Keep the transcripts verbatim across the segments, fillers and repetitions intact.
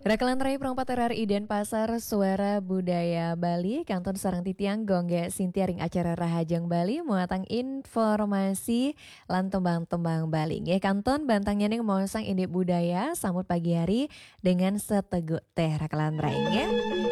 Rakelan rai Pro empat R R I Denpasar, Suara Budaya Bali, kantun sareng titiang Gung Gé Sintia ring acara Rahajeng Bali, muatang informasi lan tembang-tembang Bali. Nggih, kantun bantangnyané maosang indik budaya, sambut pagi hari dengan seteguk téh, rakelan rai, nggih.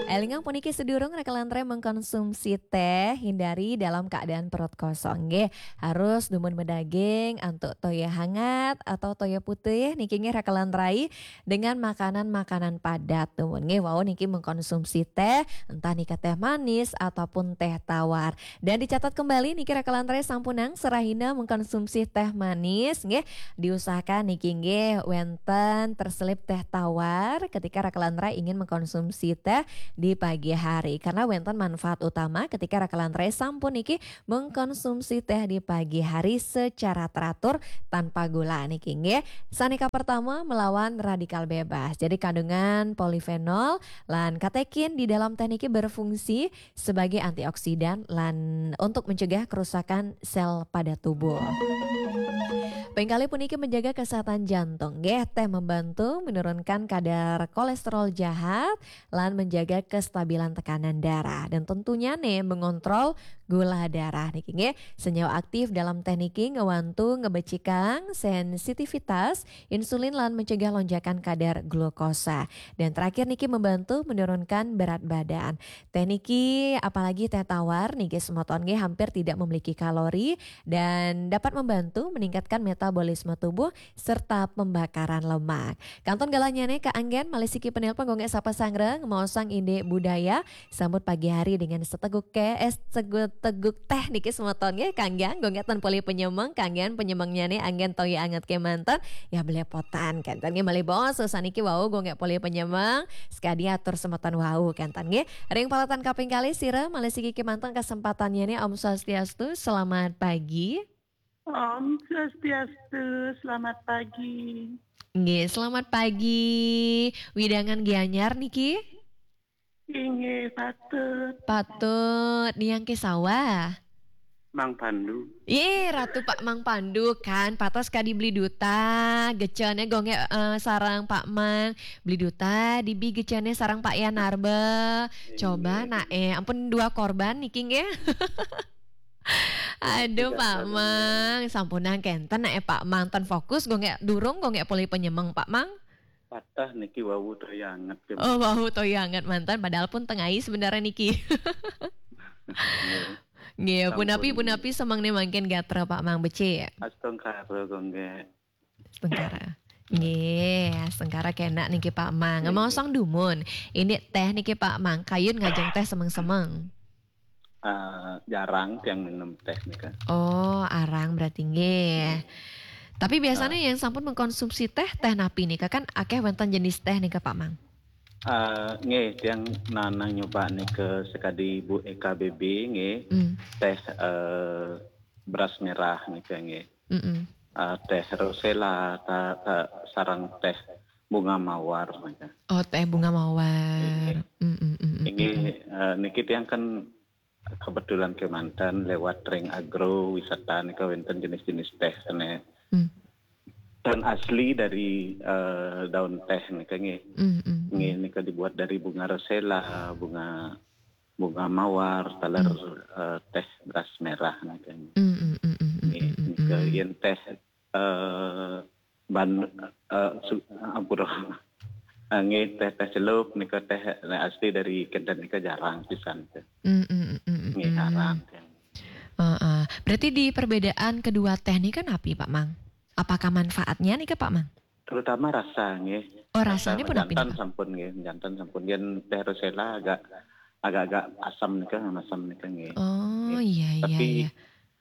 Élingang puniki, sedurung rakelan rai mengkonsumsi téh, hindari dalam keadaan perut kosong, nggih. Harus dumun madaging, antuk toya hangat atau toya putih niki, nggih, rakelan rai, dengan makanan-makanan padat, dumun, nggih, wau niki mengkonsumsi téh, entah nika téh manis ataupun téh tawar. Dan dicatat kembali niki, rakelan rai, sampunang serahina mengkonsumsi téh manis, nggih, diusahakan niki, nggih, wénten terselip téh tawar ketika rakelan rai ingin mengkonsumsi téh di pagi hari, karena wénten manfaat utama ketika rakelan rai sampun niki mengkonsumsi téh di pagi hari secara teratur tanpa gula niki, nggih. Sané kapertama, melawan radikal bebas. Jadi, kandungan polifenol lan katekin di dalam téh niki berfungsi sebagai antioksidan lan untuk mencegah kerusakan sel pada tubuh. Pingkalih puniki menjaga kesehatan jantung, nggih, téh membantu menurunkan kadar kolesterol jahat lan menjaga kestabilan tekanan darah. Dan tentunya nih, mengontrol gula darah niki, nggih. Senyawa aktif dalam téh niki ngewantu ngebecikang sensitivitas insulin lan mencegah lonjakan kadar glukosa. Dan terakhir niki, membantu menurunkan berat badan. Téh niki, apalagi téh tawar niki, semeton, nggih, hampir tidak memiliki kalori dan dapat membantu meningkatkan metabolisme tubuh serta pembakaran lemak. Kantun galahnya nih, kaanggén malih siki penelpon, Gung Gé sapa sareng, maosang indik budaya, sambut pagi hari dengan seteguk ké, eh, seteguk, teguk téh niki, semeton, nggih, kaanggén, Gung Gé ten polih penyemeng, kaanggén penyemengnya nih anggén toya anget kémanten, ya, belepotan, kénten, nggih, malih bos, saniki wau, Gung Gé polih penyemeng, sekadi atur semeton wau, kénten, nggih. Ring paletan kaping kalih, sira malih siki kémanten kesempatannya nih. Om Swastiastu, selamat pagi. Om Swastiastu, selamat pagi. Nggih, selamat pagi. Wewidangan Gianyar niki? Inggih, patut. Patut, niang ké sawah? Mang Pandu. Yé, Ratu Pak Mang Pandu kan, patos kadi Bli Duta, gecéné Gung Gé, eh, sareng Pak Mang. Bli Duta, dibi gecéné sareng Pak Yan Narba. Coba, nah, eh, ampun dua korban niki, nggih. Aduh, Pak Mang, sampunang kénten, eh, Pak Mang, ten fokus, Gung Gé durung, Gung Gé polih penyemeng, Pak Mang. Patah niki wau toya anget, ké. Oh, wau toya anget manten, padahal pun tengah sebenarnya niki. Nggih. Nggih, punapi, punapi semeng nih mangkin gatra, Pak Mang, becik? Astungkara, Gung Gé. Astungkara. Nggih, astungkara kénak niki, Pak Mang. Nggih. Maosang dumun. Ini téh niki, Pak Mang, kayun ngajeng téh semeng-semeng? Eh, jarang tiang minum téh nika. Oh, arang berarti, nggih. Tapi biasanya yang sampun mengkonsumsi téh, téh napi nika? Kan akéh wénten jenis téh nika, Pak Mang. Eh, nggih, tiang nanang nyoba nika sekadi Bu E K B B, nggih. Hmm. Téh, eh, beras merah nika, nggih. Mm-mm. Eh, téh rosella, ta-, ta-, sareng téh bunga mawar nika. Oh, téh bunga mawar. Nggih. Mm-mm, mm-mm, nggih, mm-mm. Eh, niki tiang kan kebetulan kémanten lewat ring agro wisata nika wénten jenis-jenis téh sané Hmm. dan asli dari, eh, daun téh nika, nggih. Mm-mm. Nggih, nika dibuat dari bunga rosella, bunga, bunga mawar, taler, Hmm. eh, téh beras merah nika. Mm-mm, mm-mm, nggih, mm-mm, nika mm-mm. Yén téh, eh, ban-, eh, su-, ampura. Eh, nggih, téh, téh celup nika téh asli dari kénten nika jarang pisan téh. Mm, mm, mm, mm, nggih, mm. Jarang téh. Heeh. Berarti di perbedaan kedua téh nika napi, Pak Mang? Apakah manfaatnya nika, Pak Mang? Terutama rasa, nggih. Oh, rasa rasanya pun napi jantan nika? Sampun, nggih, jantan sampun. Yén téh rosella agak, agak-agak asam nika, asam nika, nggih. Oh, nggih. Iya, iya, tapi iya.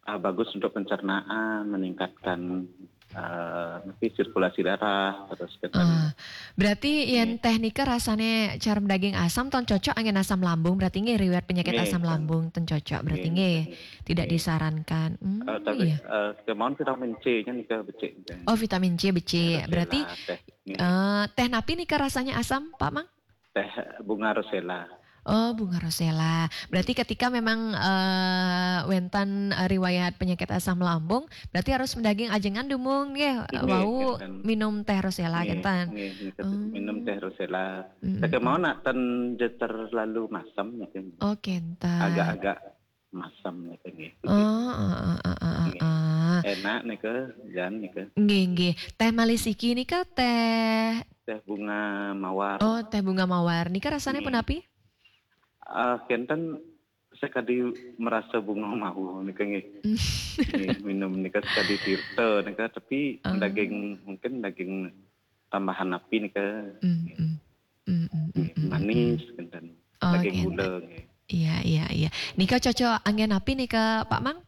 Ah, bagus untuk pencernaan, meningkatkan, eh, apa, sirkulasi darah, terus kita Ah, berarti yén téh nika rasané cara daging asam, ten cocok anggén asam lambung, berarti nggih, riwayat penyakit asam lambung ten cocok, berarti nggih, nggih, tidak disarankan. Hmm, eh, tapi, iya. Eh, kemauan vitamin C-nya nika becik. Oh, vitamin C becik. Rosella, berarti, téh, nggih. Eh, téh napi nika rasanya asam, Pak Mang? Téh bunga rosella. Oh, bunga rosella. Berarti ketika memang eh, wénten eh, riwayat penyakit asam lambung, berarti harus mendaging ajengan dumun nggih, eh, Inggih, wau kinten. Minum teh rosella Nggih, kinten. nggih, niki Oh. minum teh rosella. Mm-mm. Saking mawon nak ten jeter terlalu masem niki. Oh, kinten. Agak-agak masem niki nggih. Oh, ah, ah, ah, ah, Nggih. ah. Enak nika, jan nika. Nggih, nggih. Teh malih siki nika teh Teh bunga mawar. Oh, teh bunga mawar. Nika rasanya Nggih. Punapi? Ah, kinten sekadi merasa bunga mawar nika nggih. Nggih, minum nika sekadi tirta nika, tapi Ah. daging, mungkin daging tambahan napi nika. Mm, mm. Mm, mm, mm, Nggih, mm, manis mm. kinten. Oh, Daging kinten. Gula nggih. Iya, iya, iya. Nika cocok anggén napi nika, Pak Mang?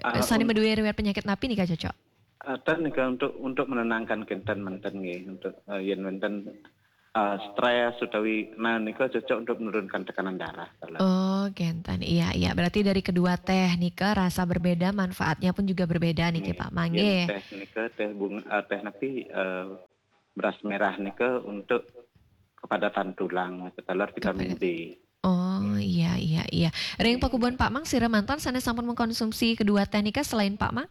Ah, Sané un- madué riwayat penyakit napi nika cocok? Ah, ten nika untuk, untuk menenangkan kinten manten nggih, untuk eh, yen wénten eh, stres utawi, nah, nika cocok untuk menurunkan tekanan darah. Kalau Oh, kinten. Iya, iya. Berarti dari kedua teh nika rasa berbeda, manfaatnya pun juga berbeda niki, Nggih. Pak Mang, Yen nggih. Teh nika teh bunga, eh, teh napi, eh, beras merah nika untuk kepadatan tulang, ketelar vitamin Kepada- D. Oh, iya, iya, iya. Ring Nggih. Pakubon Pak Mang, sira manten sané sampun mengkonsumsi kedua teh nika selain Pak Mang?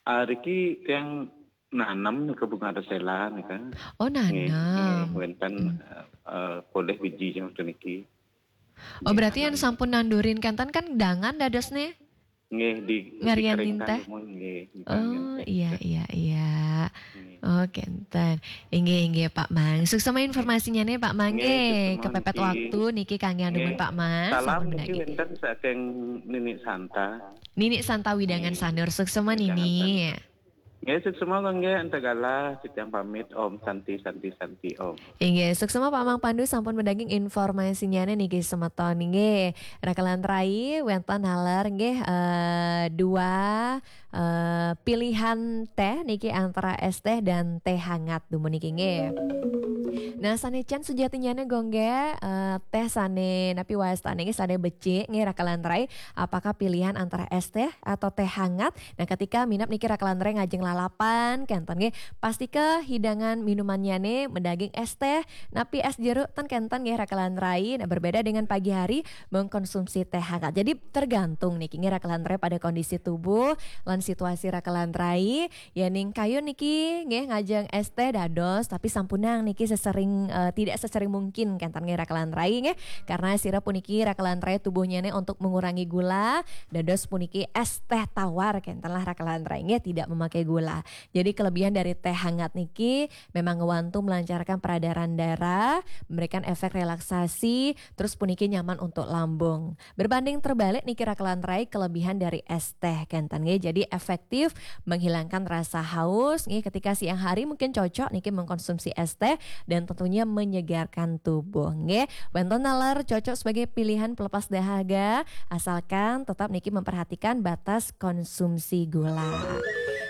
Ah, riki tiang nanem nika bunga rosella nika. Oh, Nggih, nggih, nanem. wénten Hmm. eh, eh, polih biji yang niki. Oh, berarti yang sampun nandurin kinten kan dangan dadosné? Nggih, di Ngarian dikeringkan teh? Dumun, nggih, Oh, teh. Iya, iya, iya. Nggih. Oh, kinten. Inggih, inggih, Pak Mang. Suksma informasinya nih, Pak Mang. Nggih, Nggih, suksma kepepet niki. Waktu niki kangge andumun Nggih. Pak Mang. Salam Sampun niki mendaging. Wénten saking Nini Santa. Nini Santa Widangan Nggih. Sanur. Suksma Widangan Nini. Sanur. Nggih, suksma kangge antagalih titiang pamit. Om Santi, Santi, Santi, Om. Inggih, suksma Pak Mang Pandu sampun mendaging informasinya niki semeton nggih. Rakelan rai wénten naler nggih eh, dua eh, pilihan teh niki antara es teh dan teh hangat dumun niki nggih. Nah, sané can sujatinya nih gongge eh, teh sané napi wastane nggih sané becik nggih rakelan rai. Apakah pilihan antara es teh atau teh hangat? Nah, ketika minab niki rakelan rai ngajeng lalapan kinten nggih, pastika hidangan minumannya nih mendaging es teh, napi es jeruk ten kinten nggih rakelan rai. Nah, berbeda dengan pagi hari mengkonsumsi teh hangat. Jadi tergantung niki nggih rakelan rai pada kondisi tubuh lan situasi rakelan rai. Ya ning kayun niki nggih ngajeng es teh dados, tapi sampunang niki sesering eh, tidak sesering mungkin kinten nggih rakelan rai nggih. Karena sira puniki rakelan rai tubuhnya nih untuk mengurangi gula, dados puniki es teh tawar kinten lah rakelan rai nggih tidak memakai gula. Jadi kelebihan dari teh hangat niki memang ngewantu melancarkan peredaran darah, memberikan efek relaksasi, terus puniki nyaman untuk lambung. Berbanding terbalik niki rakelan rai kelebihan dari es teh kinten nggih. Jadi efektif menghilangkan rasa haus nggih ketika siang hari mungkin cocok niki mengkonsumsi es teh dan tentunya menyegarkan tubuh nggih. Wénten naler cocok sebagai pilihan pelepas dahaga asalkan tetap niki memperhatikan batas konsumsi gula.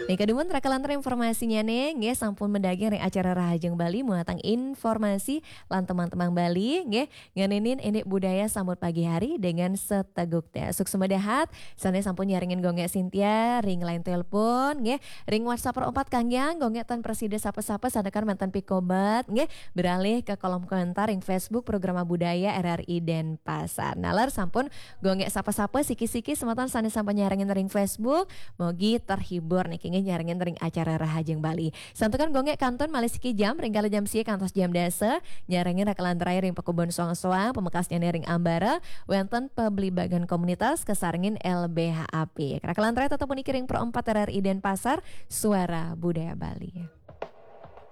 Nika dumun rakelan rai informasinya nih nggih sampun mendaging ring acara Rahajeng Bali muatang informasi lan teman-teman Bali nggih. Ngeninin ini budaya sambut pagi hari dengan seteguk teh. Suksma dahat, sané sampun nyarengin gongge Cynthia, ring line telepon, nggih, ring WhatsApp perempat kangge, gongge tan presida sapa-sapa, sandekan mantan pikobat, nggih, beralih ke kolom komentar ring Facebook Programa Budaya R R I Denpasar. Naler sampun gongge sapa-sapa, siki-siki semeton sané sampun nyarengin ring Facebook, mogi terhibur niki nggih nyarengin ring acara Rahajeng Bali. Santukan gongge kantun malih siki jam, ring kala jam sia kantos jam dasa, nyarengin rakelan rai ring pakubon soang-soang, pamekasnya ring ambara, wénten pabligbagan komunitas kasarengin L B H A P. Rakelan rai tetep puniki ring Pro empat R R I Denpasar, Suara Budaya Bali.